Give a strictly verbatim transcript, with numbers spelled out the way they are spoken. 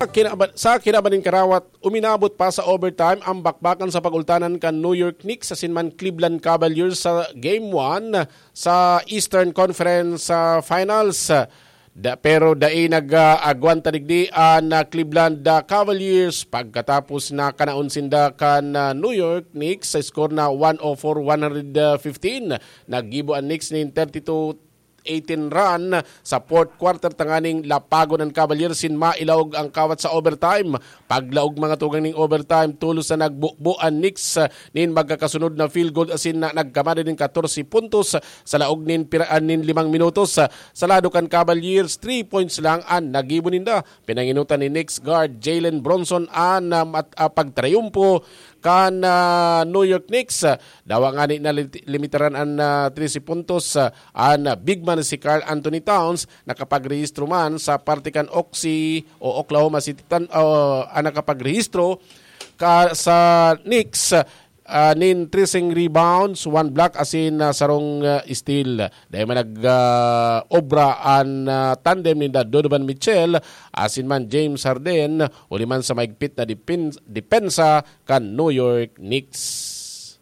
Kinaba- sa kinaban nin karawat, uminabot pa sa overtime ang bakbakan sa pagultanan kan New York Knicks asin man Cleveland Cavaliers sa Game one sa Eastern Conference ah, Finals. Da, pero dai nag-agwanta digdi an ah, Cleveland ah, Cavaliers pagkatapos na kanaon sinda kan ah, New York Knicks sa score na one oh four one fifteen. Naggibo an Knicks nin thirty-two eighteen run sa fourth quarter tanganing lapagon an Cavaliers sin mailaog ang kawat sa overtime. Paglaog mga tugang ning overtime, tolos na nagbubo an Knicks ah, nin magkakasunod na field goal asin na nagkamada nin katorse puntos sa laog nin pira- ah, nin limang minutos. Sa lado kan Cavaliers, three points lang an nagibo ninda. Pinanginutan ni Knicks guard Jalen Brunson an ah, mat- ah, pagtrayumpo kan ah, New York Knicks. Dawa ngani na limit- limitaran an ah, trese puntos ah, an ah, big man si Karl Anthony Towns, nakapagrehistro man sa parte kan Oxy o Oklahoma City Thun- o, an nakapagrehistro ka sa Knicks ah, nin treseng rebounds, one block asin ah, sarong ah, steal. Dai man nag ah, obra an ah, tandem ninda Donovan Mitchell asin man James Harden, huli man sa maigpit na depen- depensa kan New York Knicks.